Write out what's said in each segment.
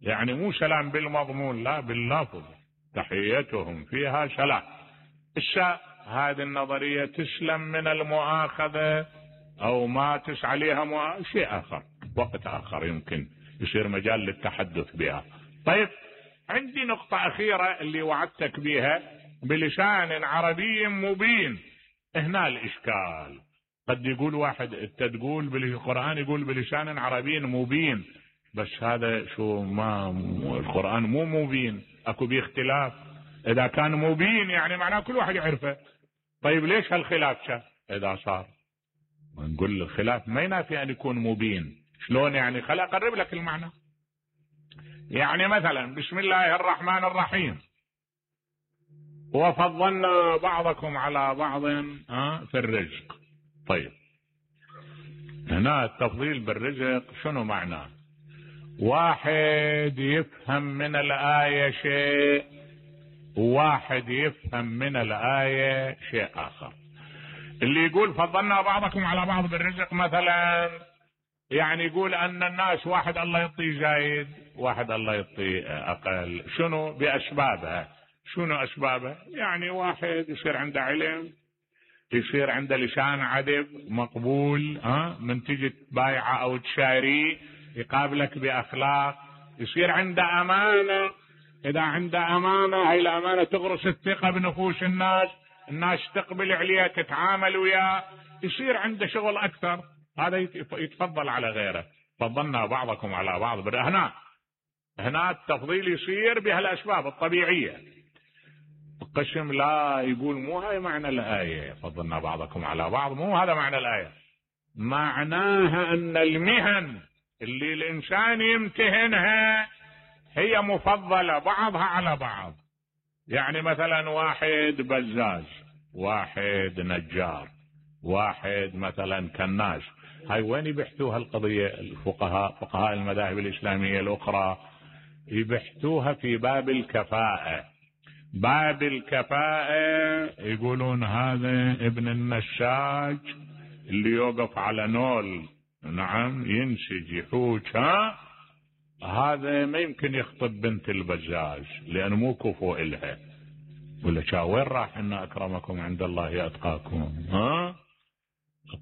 يعني مو سلام بالمضمون، لا باللفظ، تحيتهم فيها سلام. هذه النظرية تسلم من المؤاخذة او ما عليها شيء اخر، وقت اخر يمكن يصير مجال للتحدث بها. طيب، عندي نقطة اخيرة اللي وعدتك بها، بلسان عربي مبين. هنا الاشكال، قد يقول واحد انت تقول بالقرآن يقول بلسان عربي مبين، بس هذا شو، ما القرآن مو مبين، اكو بيه اختلاف. اذا كان مبين يعني معناه كل واحد يعرفه. طيب ليش هالخلاف اذا صار؟ نقول الخلاف ما ينافي ان يكون مبين. شلون يعني؟ خل اقرب لك المعنى. يعني مثلا بسم الله الرحمن الرحيم، وفضلنا بعضكم على بعض في الرزق. طيب، هنا التفضيل بالرزق شنو معناه؟ واحد يفهم من الآية شيء، وواحد يفهم من الآية شيء آخر. اللي يقول فضلنا بعضكم على بعض بالرزق مثلا، يعني يقول أن الناس واحد الله يعطيه زايد، واحد الله يعطيه أقل. شنو بأسبابها؟ شنو أسبابها؟ يعني واحد يصير عنده علم، يصير عنده لسان عذب مقبول، من تجي تبايعه أو تشاريه يقابلك بأخلاق، يصير عنده أمانة. إذا عنده أمانة، هاي الأمانة تغرس الثقة بنفوس الناس، الناس تقبل عليه، تتعامل وياه، يصير عنده شغل أكثر، هذا يتفضل على غيره. فضلنا بعضكم على بعض. هنا التفضيل يصير بهالأسباب الطبيعية. القسم لا، يقول مو هاي معنى الآية، فضلنا بعضكم على بعض، مو هذا معنى الآية. معناها أن المهن اللي الإنسان يمتهنها هي مفضلة بعضها على بعض. يعني مثلا واحد بزاز، واحد نجار، واحد مثلا كناس، هاي وين يبحثوها القضية؟ فقهاء المذاهب الإسلامية الأخرى يبحثوها في باب الكفاءة. باب الكفاءة يقولون هذا ابن النساج اللي يوقف على نول، نعم، ينسج يحوج، هذا ما يمكن يخطب بنت البزاز لأنه مو كفو إلها. ولا وين راح؟ إن أكرمكم عند الله أتقاكم.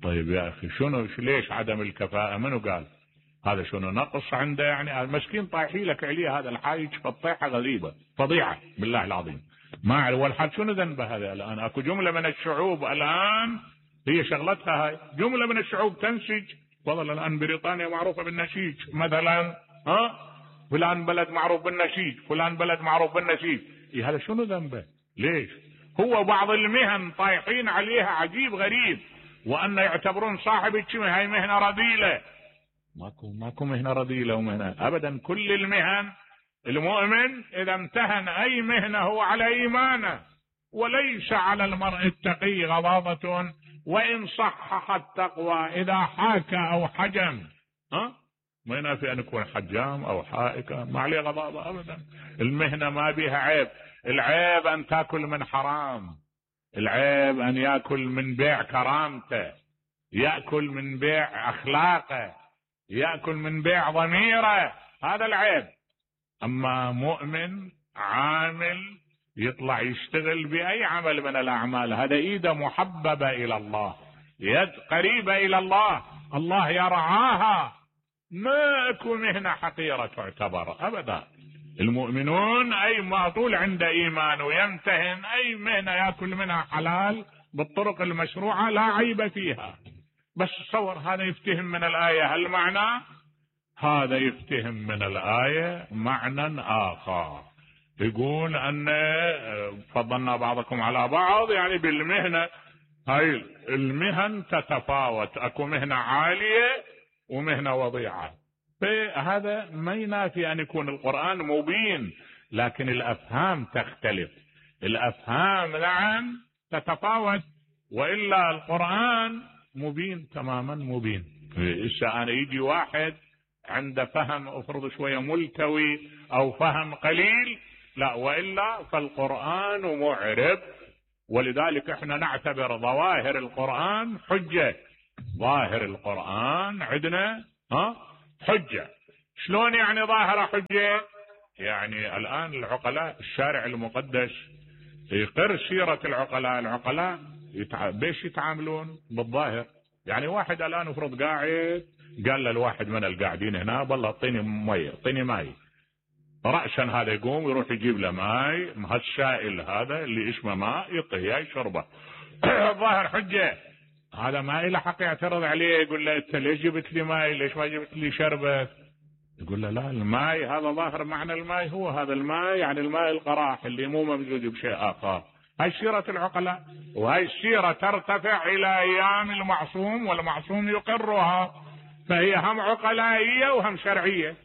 طيب يا أخي، شنو ليش عدم الكفاءة؟ منو قال هذا؟ شنو نقص عنده؟ يعني المسكين طايحي لك عليه هذا الحايج فالطيحة غريبة، فضيعة بالله العظيم. ما والحال شنو ذنبه هذا؟ الآن أكو جملة من الشعوب الآن هي شغلتها هاي، جملة من الشعوب تنسج. والله الآن بريطانيا معروفة بالنسيج مثلا، فلان بلد معروف بالنسيج، فلان بلد معروف بالنسيج. هذا شنو ذنبه؟ ليش؟ هو بعض المهن طايحين عليها عجيب غريب، وأن يعتبرون صاحب هاي مهنة رذيلة. ماكو مهنة رذيلة ومهنة أبدا. كل المهن، المؤمن إذا امتهن أي مهنة هو على إيمانه، وليس على المرء التقي غضاضة وإن صحح التقوى إذا حاكى أو حجم. ما ينافي أن يكون حجام أو حائكة، ما عليه غضاضة أبدا. المهنة ما بيها عيب. العيب أن تأكل من حرام، العيب أن يأكل من بيع كرامته، يأكل من بيع أخلاقه، يأكل من بيع ضميره، هذا العيب. أما مؤمن عامل يطلع يشتغل بأي عمل من الأعمال، هذا إيده محببة إلى الله، يد قريبة إلى الله، الله يرعاها. ما أكو مهنة حقيرة تعتبر أبدا. المؤمنون أي ما طول عنده إيمان ويمتهن أي مهنة يأكل منها حلال بالطرق المشروعة لا عيب فيها. بس تصور هذا يفتهم من الآية هالمعنى، هذا يفتهم من الآية معنى آخر، يقول أن فضلنا بعضكم على بعض يعني بالمهنة. هاي المهن تتفاوت، أكو مهنة عالية ومهنة وضيعة. فهذا ما ينافي أن يكون القرآن مبين، لكن الأفهام تختلف. الأفهام نعم تتفاوت، وإلا القرآن مبين تماما مبين. أنا يجي واحد عنده فهم افرض شوية ملتوي أو فهم قليل، لا، وإلا فالقرآن معرب. ولذلك احنا نعتبر ظواهر القرآن حجة. ظاهر القرآن عندنا حجة. شلون يعني ظاهرة حجة؟ يعني الآن العقلاء الشارع المقدس يقر سيرة العقلاء بيش يتعاملون بالظاهر. يعني واحد الآن افرض قاعد قال للواحد من القاعدين هنا والله اعطيني مي اعطيني ماي، رأسا هذا يقوم يروح يجيب له ماي، هالسائل هذا اللي اسمه ماء يعطيه يشربه. ظاهر حجة. هذا ما له حق يعترض عليه يقول له انت ليش جبت لي ماي ليش ما جبت لي شربت؟ يقول له لا الماي هذا ظاهر معنى الماي هو هذا الماي، يعني الماء القراح اللي مو ممزوج بشيء آخر. هاي سيرة العقلاء، وهاي السيرة ترتفع إلى أيام المعصوم والمعصوم يقرها، فهي هم عقلائية وهم شرعية.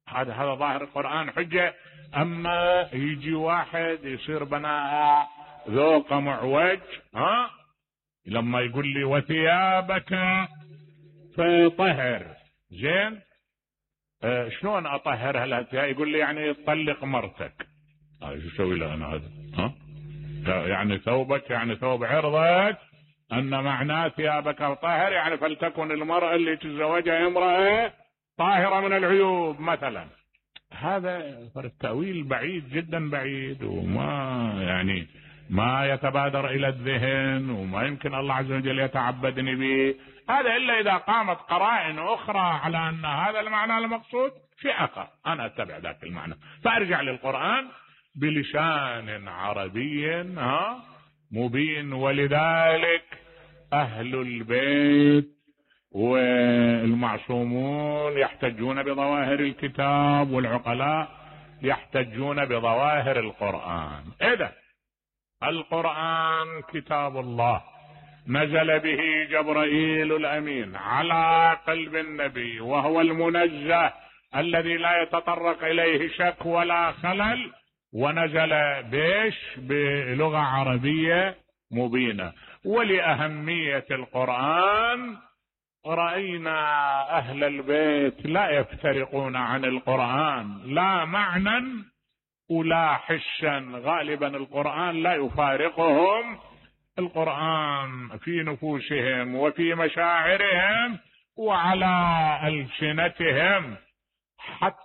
هذا ظاهر القرآن حجة. أما يجي واحد يصير بناء ذوق معوج لما يقول لي وثيابك فطهر، زين شلون اطهرها الثياب؟ يقول لي يعني طلق مرتك. شو اسوي له انا هذا؟ يعني ثوبك يعني ثوب عرضك، ان معناه ثيابك طاهر يعني فلتكن المرأة اللي تتزوجها امرأة طاهرة من العيوب مثلا. هذا التأويل بعيد جدا بعيد، وما يعني ما يتبادر الى الذهن، وما يمكن الله عز وجل يتعبدني به هذا الا اذا قامت قرائن اخرى على ان هذا المعنى المقصود في اخر، انا اتبع ذاك المعنى فارجع للقرآن بلسان عربي مبين. ولذلك اهل البيت والمعصومون يحتجون بظواهر الكتاب، والعقلاء يحتجون بظواهر القرآن. إذا القرآن كتاب الله نزل به جبرائيل الأمين على قلب النبي، وهو المنزه الذي لا يتطرق إليه شك ولا خلل، ونزل بلغة عربية مبينة. ولأهمية القرآن رأينا أهل البيت لا يفترقون عن القرآن لا معنى ولا حسا، غالبا القرآن لا يفارقهم. القرآن في نفوسهم وفي مشاعرهم وعلى ألسنتهم. حتى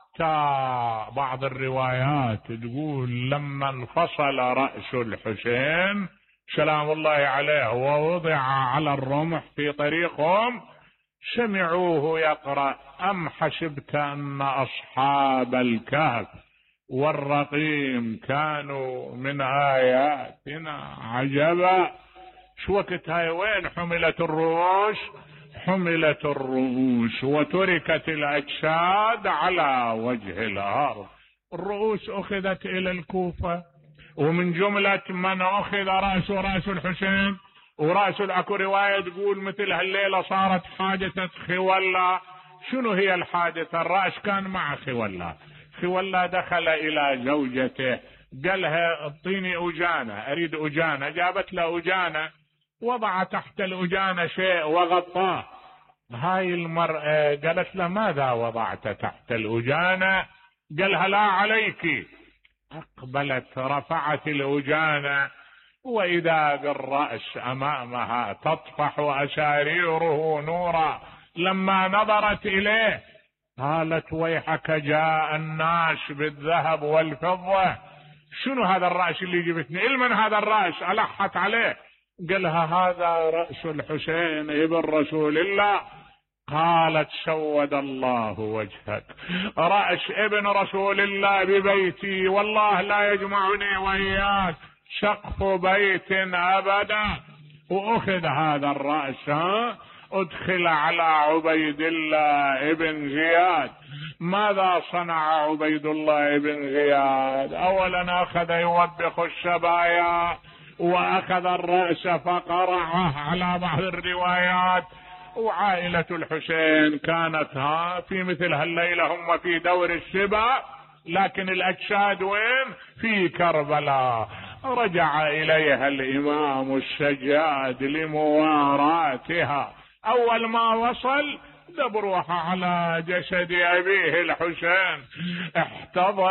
بعض الروايات تقول لما انفصل رأس الحسين سلام الله عليه ووضع على الرمح في طريقهم سمعوه يقرأ أم حسبت أن أصحاب الكهف والرقيم كانوا من آياتنا عجبا. شو وقت هاي وين حملت الرؤوس؟ حملت الرؤوس وتركت الأجساد على وجه الأرض. الرؤوس أخذت إلى الكوفة، ومن جملة من أخذ رأس الحسين ورأس اكو رواية تقول مثل هالليلة صارت حادثة خولا. شنو هي الحادثة؟ الرأس كان مع خولا دخل إلى زوجته قالها اعطيني أجانة أريد أجانة، جابت له أجانة وضع تحت الأجانة شيء وغطاه. هاي المرأة قالت له ماذا وضعت تحت الأجانة؟ قالها لا عليك. أقبلت رفعت الأجانة وإذا بالرأس أمامها تطفح أساريره نورا. لما نظرت إليه قالت ويحك جاء الناس بالذهب والفضة. شنو هذا الرأس اللي جبتني؟ المن هذا الرأس؟ ألحت عليه. قالها هذا رأس الحسين ابن رسول الله. قالت سود الله وجهك، رأس ابن رسول الله ببيتي والله لا يجمعني وإياك سقف بيت أبدا. وأخذ هذا الرأس ادخل على عبيد الله ابن زياد. ماذا صنع عبيد الله ابن زياد؟ أولا أخذ يوبخ السبايا وأخذ الرأس فقرعه على بعض الروايات. وعائلة الحسين كانت في مثل هالليلة هم في دور السبا، لكن الأجساد وين؟ في كربلاء. رجع إليها الإمام السجاد لمواراتها. أول ما وصل دبروها على جسد أبيه الحسين احتضر